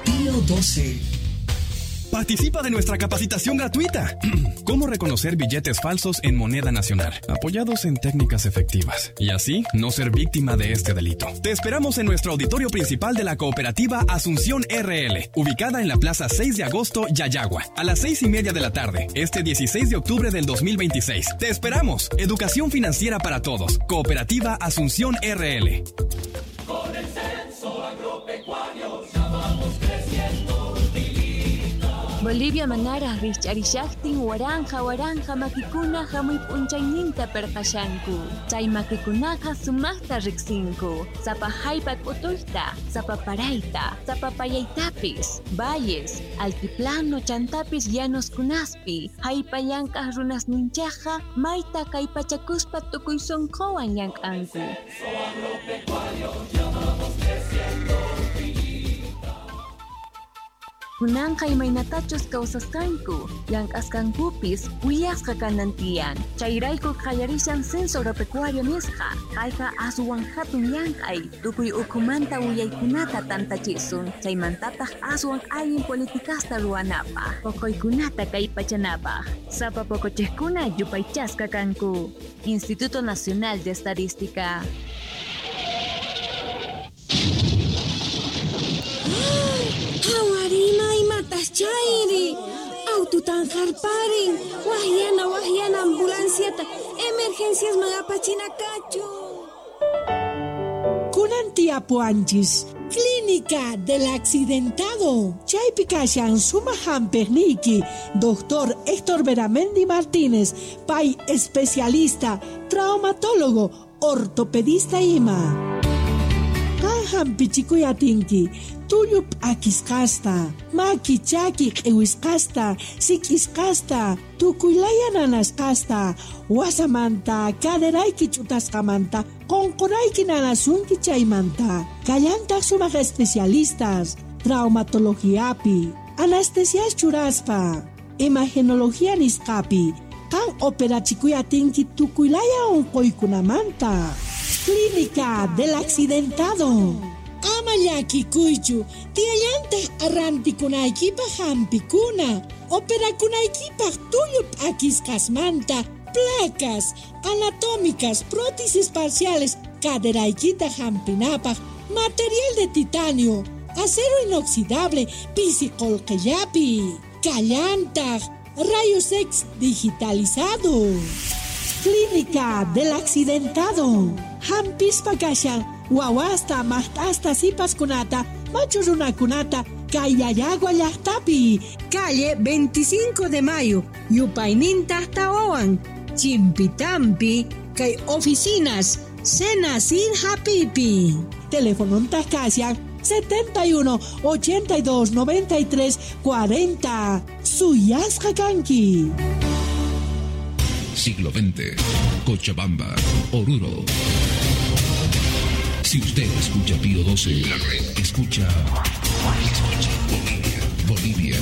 Pío 12. Participa de nuestra capacitación gratuita. Cómo reconocer billetes falsos en moneda nacional, apoyados en técnicas efectivas, y así no ser víctima de este delito. Te esperamos en nuestro auditorio principal de la cooperativa Asunción RL, ubicada en la Plaza 6 de Agosto, Llallagua, a las 6:30 de la tarde, este 16 de octubre del 2026. Te esperamos. Educación financiera para todos. Cooperativa Asunción RL. Con el censo agropecuario ya vamos creciendo. Bolivia manaraj rikch'arishaqtin waranja waranja makikuna hamuy p'unchayninta perqashanku. Chay makikunaqa sumaqta riqsinku. Sapa jallp'a k'utuyta, sapa parayta, sapa payaytapis, valles, altiplano chantapis llanoskunaspi, jallp'a llank'aq runasninchaqqa mayta kallpachakuspa tukuy sunquwan llank'anku. Kunanqa imaynatachus kawsasqanku, llank'asqankupis willasqa kanan tiyan. Chayrayku qallarishan censo agropecuario nisqa. Kayqa aswan hatun llank'ay, tukuy ukhumanta willaykunata tantachisun, chaymantataq aswan allin politikasta ruwanapaq, poqoykunata kallpachanapaq. Sapa poqochiqkuna yupaychasqa kanku. Instituto Nacional de Estadística. Hawarima imatas chayri, aututan harparin, wahyana wahyana ambulanciata, emergencias magapachina kachu. Kunan tiapuanchis, Clínica del Accidentado. Chaypi kashan suma hampiqniyki, Doctor Héctor Beramendi Martínez, pay especialista, traumatólogo, ortopedista ima. Qan hampichikuy atinki, tullu p'akisqasta, maki chaki q'iwisqasta, sik'isqasta, tukuylaya nanasqasta, wasamanta, caderayki ch'utasqamanta, qunqurayki nanasunki chaymanta. Kallantaq sumaq especialistas, traumatologiapi, anestesias churaspa, imagenología nisqapi, qan operachikuy atinki tukuylaya unquykunamanta. Clínica del Accidentado. Ama llakikuychu, tiyallantaq arrantikunaykipaq hampikuna, operakunaykipaq tullu p'akisqasmanta, placas anatómicas, prótesis parciales, caderaykita hampinapaq, material de titanio, acero inoxidable, pisi qullqillapi, kallantaq, rayos X digitalizado. Clínica del Accidentado. Hampispa kashan, wawasta, maqt'asta, sipaskunata, machu runakunata, kay Llallagua llaqtapi. Calle 25 de Mayo, yupayninta tawawan, Chimpitampi, kay oficinas, Senacid hapipi. Teléfono kashan 71 82 93 40. Suyasqa kanki. Siglo XX, Cochabamba, Oruro. Si usted escucha Pío 12, la red escucha. Escucha Bolivia, Bolivia.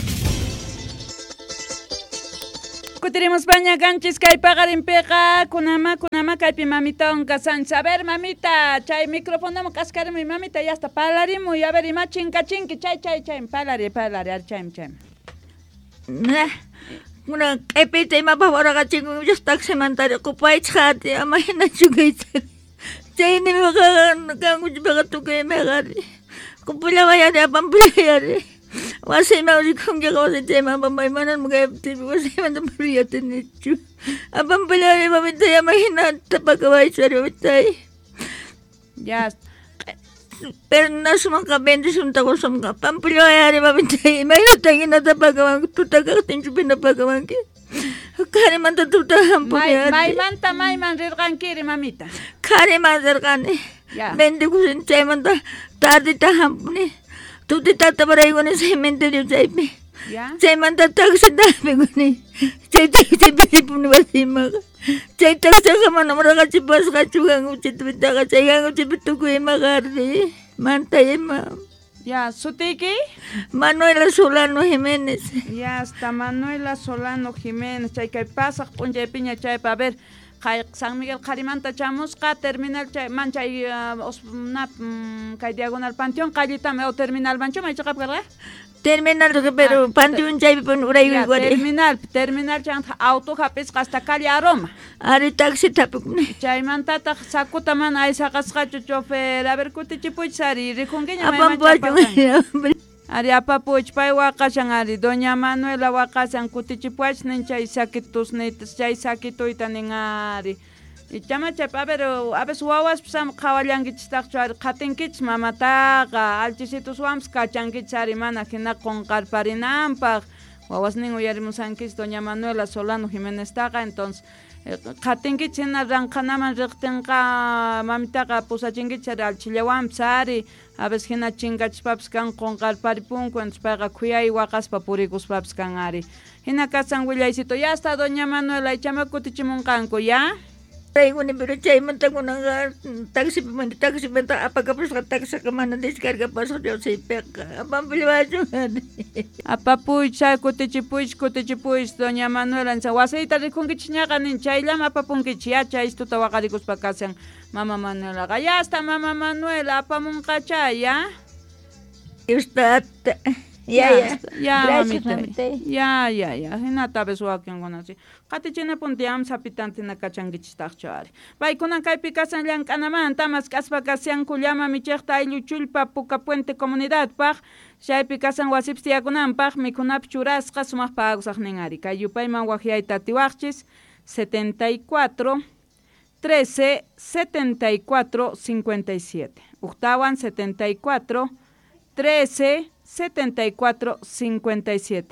Kutiremos paña ganchis kay paqarinpiqa kunama kunama kaypi mamitawan kasanchis. A ver mamita, chay microfonoman k'askarimuy mamita, ya hasta parlarimuy. A ver ima chinkachinki chay chay chay parlari parlari ar chay chay. Kuna q'ipita imapaq waraqachinku taximanta riqupaychaq ama hinachu kayta. Chaymi kankuchpiqa tukuy imayqari. Qupullawayari apampullayari. Wasiyman rikunkiqa wasiychayman apampay manam kayaptinpi wasiymanta puriyatinichu. Apampullayari mamitay ama hinata pakawaychu ari mamitay. Ya. Pero nasumanqa bendicionta qusunqa. Pampullayari mamitay imaynata hinata pakawanki tuta kaqtinchu pina pakawanki. Qharimanta tuta hampuni. Maymanta mayman rirqankiri mamita. Qhariman rirqani. Bendikusin chaymanta tardita hampuni. Tutitata paraykuni cementerio chaypi. Chaymanta taxita hapikuni. Chay taxipi ripuni wasimanqa. Chay taxiqa manam raqachipasqachu kankuchipitaqa chay kankuchipi tukuy imaqa ardi manta ima. Ya, ¿sutiyki? Manuela Solano Jiménez. Ya está, Manuela Solano Jiménez. Chay kay pasaq p'unchaypiña chaypa. A ver, San Miguel qharimanta chamusqa terminal chay man chay kay diagonal panteón qallitami o terminal manchu may chiqap karqa? Terminal pero panteón chaypi pun uraykuy terminal terminal chanta auto hap'isqa hasta calle Aroma. Ari taxi tapukuni. Chaymantataq sakuta mana aysaqasqachu chofer. A ver kutichipuychis ari rikunkiña mayman. Ari apapuch pay waqashan ari doña Manuela waqashan kutichipuach nin chay sakitusniyta chay sakituyta nin ari. Ichama chay a ver a veces wawaspis ama qhawallankichistaqchu ari qhatinkichis mamataqa alchisituswanpis kachankichis ari mana hina qunqarparinanpaq wawasnin uyarimusankichis doña Manuela Solano Jimeneztaqa entonces qhatinkichis hina ranqhanaman riqtinqa mamitaqa pusachinkichis ari alchillawanpis ari a veces hina chinkachispapis kan qunqarparipunku entonces payqa khuyay waqaspa purikuspapis kan ari hina kasan willaycito ya está doña Manuela ichama kutichimunqanku ya. Traiguni pero chaymanta kunanqa taxipimanta taxipimanta apakapusqa taxiqa mana descargapasqa Diosaypiqa apampillawachun. Apapuy chay kutichipuychis kutichipuychis doña Manuela wasiyta rikunkichis ñaqa nin chayllama apapunkichis ya chaystuta waqarikuspa kashan mama Manuelaqa ya hasta mama Manuela apamunqacha ya. Dios tata. Ya, ya. Ya, gracias, mamita. Ya, ya, ya. Hinata vez wakinkuna si. Qatichinapunti am sapitantina kachankichistaqchu ari. Paykunan kaypi kasan llank'anamanta mask'aspa kashanku llama michiqta ayllu chullpa Puka Puente comunidadpaq chaypi kasan wasipis tiyakunanpaq mikhunapi churasqa sumaq pagusaqnin ari. Kay yupayman waqyayta atiwaqchis 74 13 74 57. Uktawan 74 13 74 57.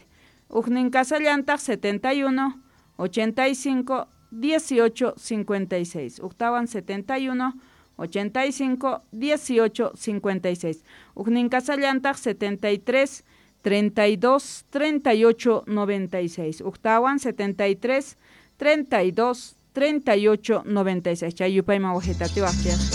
Ujnin kasallantaq 71 85 18 56. Uktawan 71 85 18 56. Ujnin kasallantaq 73 32 38 96. Uktawan 73 32 38 96. Chay yupayman wajitatiwaqchik.